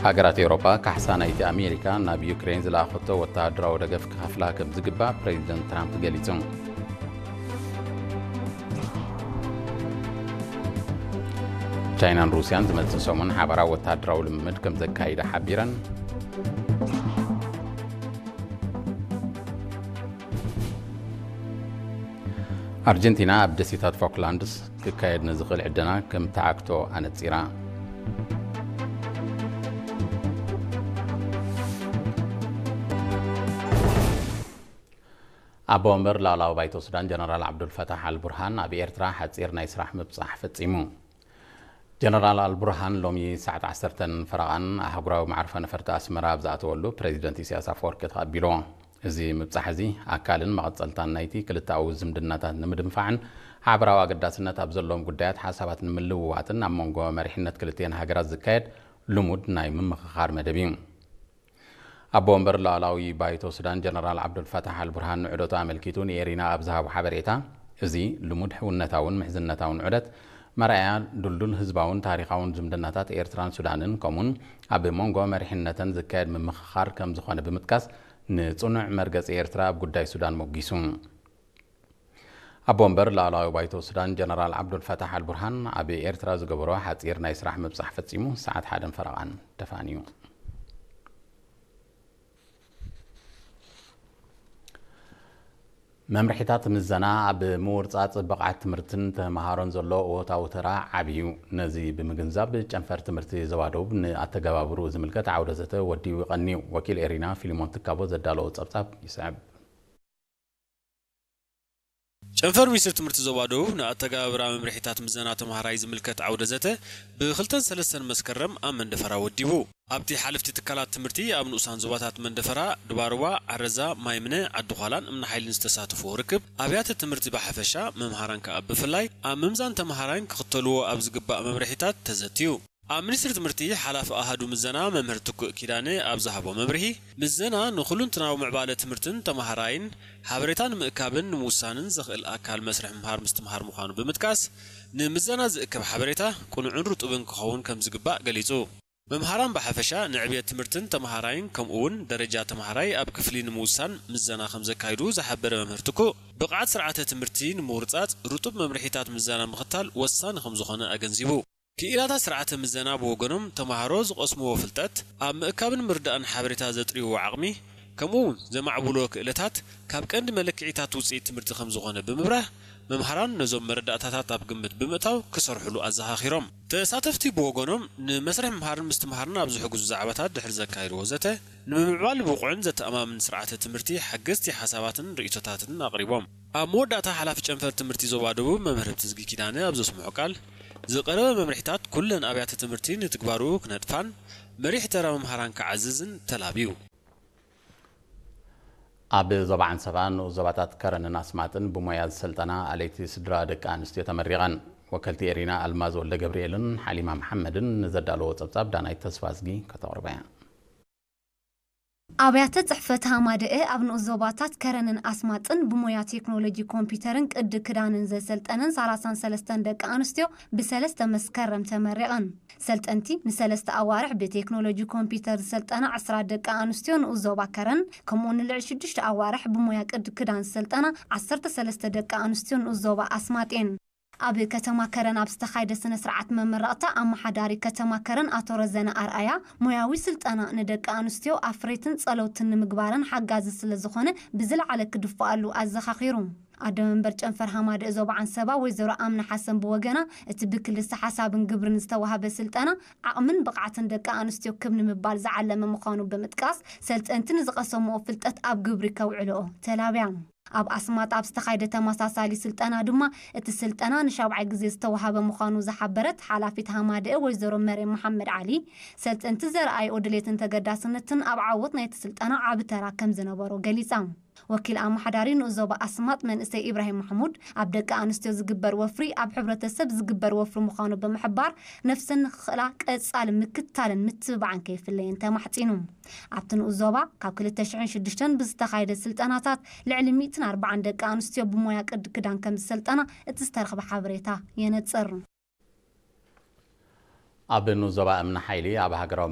ሃገራት ኤውሮጳ ካሕሳ ናይቲ ኣሜሪካ ናብ ዩክሬን ዝለኣኸቶ ወተሃደራዊ ደገፍ ክኸፍላ ከም ዝግባእ ፕሬዚደንት ትራምፕ ገሊጹ። ቻይናን ሩስያን ዝመጽእ ሰሙን ሓባራዊ ወተሃደራዊ ልምምድ ከም ዘካይዳ ሓቢረን። ኣርጀንቲና ኣብ ደሴታት ፎክላንድስ ክካየድ ንዝኽእል ዕደና ከም ትዓግቶ ኣነጺራ። ኣቦ ወንበር ላዕላዊ ባይቶ ሱዳን ጀነራል ዓብዱልፈታሕ ኣልቡርሃን ኣብ ኤርትራ ሓጺር ናይ ስራሕ ምብጻሕ ፈጺሙ። ጀነራል ኣልቡርሃን ሎሚ ሰዓት ዓሰርተ ፈረቓን ኣህጉራዊ መዕርፎ ነፈርቲ ኣስመራ ኣብ ዝኣተወሉ ፕሬዚደንት ኢሳያስ ኣፈወርቂ ተቐቢሎ። እዚ ምብጻሕ እዚ ኣካልን መቐጸልታን ናይቲ ክልተኣዊ ዝምድናታት ንምድንፋዕን ሓበራዊ ኣገዳስነት ኣብ ዘለዎም ጉዳያት ሓሳባት ንምልውዋጥን ኣብ መንጎ መሪሕነት ክልቲኤን ሃገራት ዝካየድ ልሙድ ናይ ምምኽኻር መደብ እዩ። ኣቦ ወንበር ላዕላዊ ባይቶ ሱዳን ጀነራል ዓብዱልፈታሕ ኣልቡርሃን ንዑደቱ ኣመልኪቱ ንኤሪና ኣብ ዝሃቦ ሓበሬታ፣ እዚ ልሙድ ሕውነታውን ምሕዝነታውን ዑደት መርኣያ ድልዱል ህዝባውን ታሪኻውን ዝምድናታት ኤርትራን ሱዳንን ከምኡን ኣብ መንጎ መሪሕነተን ዝካየድ ምምኽኻር ከም ዝኾነ ብምጥቃስ፣ ንጽኑዕ መርገጺ ኤርትራ ኣብ ጉዳይ ሱዳን ሞጊሱ። ኣቦ ወንበር ላዕላዊ ባይቶ ሱዳን ጀነራል ዓብዱልፈታሕ ኣልቡርሃን ኣብ ኤርትራ ዝገበሮ ሓጺር ናይ ስራሕ ምብጻሕ ፈጺሙ ሰዓት ሓደን ፈረቓን ተፋንዩ። መምርሒታት ምዘና ኣብ ምውርጻጽ ብቕዓት ትምህርትን ተመሃሮን ዘሎ እወታዊ ተራ ዓቢ እዩ። ነዚ ብምግንዛብ ጨንፈር ትምህርቲ ዞባ ደቡብ ንኣተገባብርኡ ዝምልከት ዓውደ ዘተ ወዲቡ ይቐንዩ። ወኪል ኤሪና ፊሊሞን ትካቦ ዘዳለዎ ጸብጻብ ይስዕብ። ጨንፈር ሚኒስትሪ ትምህርቲ ዞባ ደቡብ ንኣተገባብራ መምርሒታት ምዘና ተምሃራይ ዝምልከት ዓውደ ዘተ ብክልተን ሰለስተን መስከረም ኣብ መንደፈራ ወዲቡ። ኣብቲ ሓለፍቲ ትካላት ትምህርቲ ኣብ ንኡሳን ዞባታት መንደፈራ፣ ድባርዋ፣ ዓረዛ፣ ማይምነ፣ ዓዲ ዃላን እምኒ ሓይልን ዝተሳተፍዎ ርክብ ኣብያተ ትምህርቲ ብሓፈሻ፣ መምሃራን ከኣ ብፍላይ ኣብ ምምዛን ተምሃራይን ክኽተልዎ ኣብ ዝግባእ መምርሒታት ተዘትዩ። ኣብ ሚኒስትሪ ትምህርቲ ሓላፊ ኣሃዱ ምዘና መምህር ትኩእ ኪዳነ ኣብ ዝሃቦ መብርሂ፣ ምዘና ንኹሉንትናዊ ምዕባለ ትምህርትን ተምሃራይን ሓበሬታ ንምእካብን ንምውሳንን ዘኽእል ኣካል መስርሕ ምምሃር ምስትምሃር ምዃኑ ብምጥቃስ፣ ንምዘና ዝእከብ ሓበሬታ ቅኑዕን ርጡብን ክኸውን ከም ዝግባእ ገሊጹ። መምሃራን ብሓፈሻ ንዕብየት ትምህርትን ተምሃራይን ከምኡ እውን ደረጃ ተምሃራይ ኣብ ክፍሊ ንምውሳን ምዘና ከም ዘካይዱ ዝሓበረ መምህር ትኩእ፣ ብቕዓት ስርዓተ ትምህርቲ ንምውርጻጽ ርጡብ መምርሒታት ምዘና ምኽታል ወሳኒ ከም ዝኾነ ኣገንዚቡ። ክኢላታት ስርዓተ ምዘና ብወገኖም፣ ተምሃሮ ዝቐስምዎ ፍልጠት፣ ኣብ ምእካብን ምርዳእን ሓበሬታ ዘጥርይዎ ዓቕሚ፣ ከምኡ እውን ዘማዕብልዎ ክእለታት ካብ ቀንዲ መለክዒታት ውፅኢት ትምህርቲ ከም ዝኾነ ብምብራህ፣ መምሃራን ነዞም መረዳእታታት ኣብ ግምት ብምእታው ክሰርሕሉ ኣዘኻኺሮም። ተሳተፍቲ ብወገኖም፣ ንመስርሕ ምምሃርን ምስትምሃርን ኣብ ዝሕግዙ ዛዕባታት ድሕሪ ዘካየድዎ ዘተ፣ ንምምዕባል ብቑዕን ዘተኣማምን ስርዓተ ትምህርቲ ሓገዝቲ ሓሳባትን ርእይቶታትን ኣቕሪቦም። ኣብ መወዳእታ ሓላፊ ጨንፈር ትምህርቲ ዞባ ደቡብ መምህር ህብትዝጊ ኪዳነ ኣብ ዘስምዖ ቃል፣ ዝቐረበ መምርሒታት ኩለን ኣብያተ ትምህርቲ ንትግባሩ ክነጥፋን መሪሕ ተራ መምሃራን ክዓዝዝን ተላብዩ። ኣብ ዞባ ዓንሰባ ንኡስ ዞባታት ከረንን ኣስማጥን ብሞያ ዝሰልጠና ኣለይቲ ስድራ ደቂ ኣንስትዮ ተመሪቐን። ወከልቲ ኤሪና ኣልማዝ ወልደ ገብርኤልን ሓሊማ መሓመድን ንዘዳለዎ ጸብጻብ ዳናይት ተስፋዝጊ ከተቕርቦ እያ። ኣብያተ ጽሕፈት ሃማደኤ ኣብ ንኡስ ዞባታት ከረንን ኣስማጥን ብሞያ ቴክኖሎጂ ኮምፒውተርን ቅዲ ክዳንን ዘሰልጠነን ሰላሳን ሰለስተን ደቂ ኣንስትዮ ብሰለስተ መስከረም ተመሪቐን። ሰልጠንቲ ንሰለስተ ኣዋርሕ ብቴክኖሎጂ ኮምፒውተር ዝሰልጠና ዕስራ ደቂ ኣንስትዮ ንኡስ ዞባ ከረን፣ ከምኡ ንልዕሊ ሽዱሽተ ኣዋርሕ ብሞያ ቅዲ ክዳን ዝሰልጠና ዓሰርተ ሰለስተ ደቂ ኣንስትዮ ንኡስ ዞባ ኣስማጥ እየን። ኣብ ከተማ ከረን ኣብ ዝተኻየደ ስነ ስርዓት መመረቕታ፣ ኣመሓዳሪ ከተማ ከረን ኣቶ ረዘነ ኣርኣያ፣ ሞያዊ ስልጠና ንደቂ ኣንስትዮ ኣፍረይትን ጸለውትን ንምግባረን ሓጋዚ ስለ ዝኾነ ብዝለዓለ ክድፍኣሉ ኣዘኻኺሩ። ኣደ መንበር ጨንፈር ሃማደኤ ዞባ ዓንሰባ ወይዘሮ ኣምና ሓሰን ብወገና፣ እቲ ብክልሰ ሓሳብን ግብርን ዝተዋህበ ስልጠና ዓቕምን ብቕዓትን ደቂ ኣንስትዮ ክብ ንምባል ዝዓለመ ምዃኑ ብምጥቃስ፣ ሰልጠንቲ ንዝቐሰምዎ ፍልጠት ኣብ ግብሪ ከውዕልኦ ተላብያ። ኣብ ኣስማጥ ኣብ ዝተኻየደ ተመሳሳሊ ስልጠና ድማ፣ እቲ ስልጠና ንሻብዓይ ግዜ ዝተዋህበ ምዃኑ ዝሓበረት ሓላፊት ሃማደኤ ወይዘሮ መርየም መሓመድ ዓሊ፣ ሰልጠንቲ ዘርኣይኦ ድሌትን ተገዳስነትን ኣብ ዓወት ናይቲ ስልጠና ዓቢ ተራ ከም ዝነበሮ ገሊጻ። ወኪል ኣመሓዳሪ ንኡስ ዞባ ኣስማጥ መንእሰይ ኢብራሂም ማሕሙድ፣ ኣብ ደቂ ኣንስትዮ ዝግበር ወፍሪ ኣብ ሕብረተሰብ ዝግበር ወፍሪ ምዃኑ ብምሕባር፣ ነፍሰን ንኽኽእላ ቀጻሊ ምክትታልን ምትብባዕን ከይፍለየን ተማሕጺኑ። ኣብቲ ንኡስ ዞባ ካብ ክልተ ሽሕን ሽዱሽተን ብዝተኻየደ ስልጠናታት ልዕሊ ሚእትን ኣርባዓን ደቂ ኣንስትዮ ብሞያ ቅዲ ክዳን ከም ዝሰልጠና እቲ ዝተረኽበ ሓበሬታ የነጽር። ኣብ ንኡስ ዞባ እምኒ ሓይሊ ኣብ ሃገራዊ